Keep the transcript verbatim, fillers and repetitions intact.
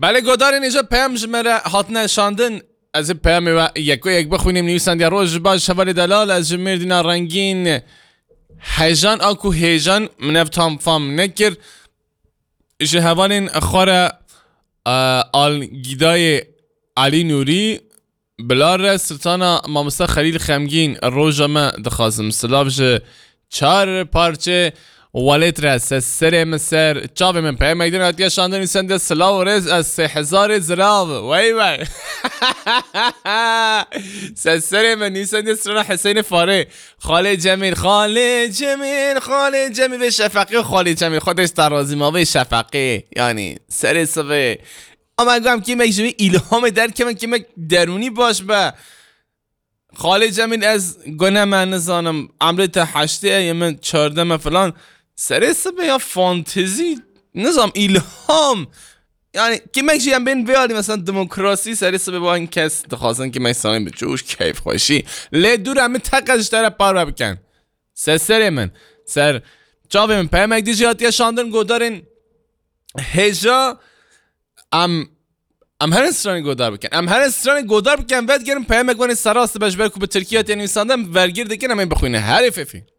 Belê godarên êja peyam ji me re hatine şandin. Ez ê peyamê we yeko yek bixwînim. Nivîsandiye: Roj baş hevalê delal, ez ji Mêrdîna rengîn. Hejan a ku hêjan min ev tam fam nekir. Ji hevalên xwe re, e, Algîdayê Elî Nûrî, Bila re Sultana Mamosta Xelîl Xemgîn, roja me dixwazim. Silav ji çar parçe welêt re, se serê min ser, çavê min. Peyamek din hatiye şandin, nivîsende: Silav û rêz, ez sê hezarê zirav. Wey wey. Se serê min, nivîsende strana Hesênê Farê. Xalê Cemîl, Xalê Cemîl, Xalê Cemîl, vê Şefeqê û Xalê Cemîl. Xwedê ji te razî ma, vê Şefeqê. Yanî, serê sivê. Ama gam kêmek ji wî îlhamê derkevin, kêmek derûnî baş be. Xalê Cemîl, ez gune me nizanim, emrê te heştê ye, yê min çardeh me filan. Serê sibê ya fantezî, nizam, îlham. Yani kêmek jî em bên vê alî, mesela demokrasî, serê sibê wan kes dixwazin kêmek samî bi coş, keyfxweşî. Lê dûre min teqez ji te re parve bikin. Ser serê min. Ser çavê min peyamek dijî hatiye şandin, godarên hêja. Em, em herin stranê godar bikin. Em herin stranê godar bikin, vedigerin peyamek wanê serrast be, ji ber ku bi tirkî hatiye nivîsandin, em vergir dikin, em ê bixwînin. Herê fêfî.